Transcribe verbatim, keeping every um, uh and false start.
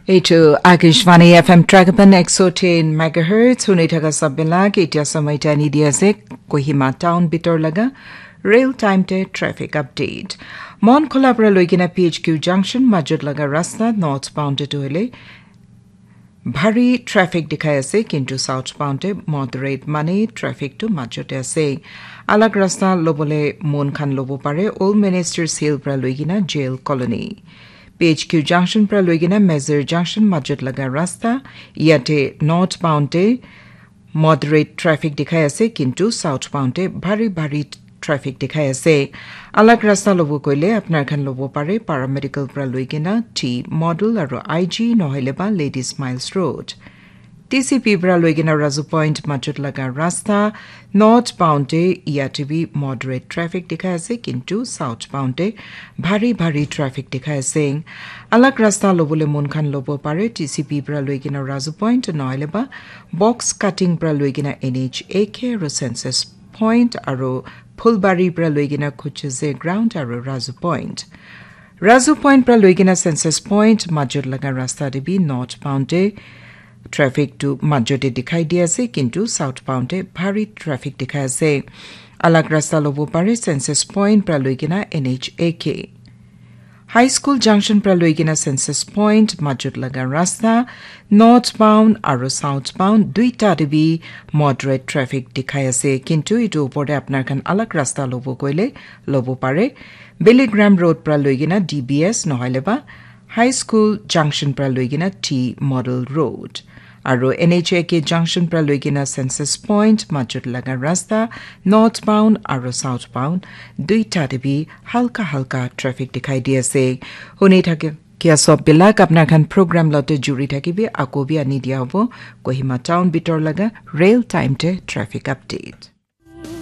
Eitu Akashvani F M Tragapan ek so ten megahertz, huni thaka sabela ke itia samai tani dia se Kohima town bitor laga real time te traffic update. Mon Khola pra loikena P H Q junction majut laga rasta northbound te tu hele bhari traffic dikhai ase, kintu southbound te moderate mane traffic tu majut te ase. Alag rasta lobole mon khan lobo pare Old Ministers Hill pra loikena Jail Colony. P H Q junction pra loikena Mezir junction majut laga rasta, yate northbound te moderate traffic dikhai ase, kintu southbound te bhari bhari traffic dikhai ase. Alag rasta lobo koile apnar khan lobo pare Paramedical pra loikena T Model aru I G nohoile ba Ladies Miles Road. T C P pra loikena Razu Point majut laga rasta northbound te yate bi moderate traffic dikhai ase, kintu southbound te bhari bhari traffic dikhai ase. Alag rasta lobole mon khan lobo pare T C P pra loikena Razu Point nohoile ba box cutting pra loikena N H A K aru census point aru Phulbari pra loikena Kucheze ground aru Razu Point. Razu Point pra loikena census point majut laga rasta te bi northbound te traffic tu majut te dikhai di ase, kintu southbound te bhari traffic dikhai ase. Alag rasta lobo pare census point pra loikena N H A K. High School junction pra loikena census point majut laga rasta northbound aru southbound duita te bi moderate traffic dikhai ase, kintu itu upor te apnar khan alag rasta lobo koile lobo pare Billy Graham Road pra loikena D B S nohoile ba High School junction pra loikena T Model Road. Aru N H A K junction pra loikena census point majut laga rasta northbound aru southbound duita te bi halka halka traffic dikhai di ase. Huni thake kia sob bilak apnar khan program lote juri thakibi, ako bi ani dia hobo Kohima town bitor laga real time te traffic update.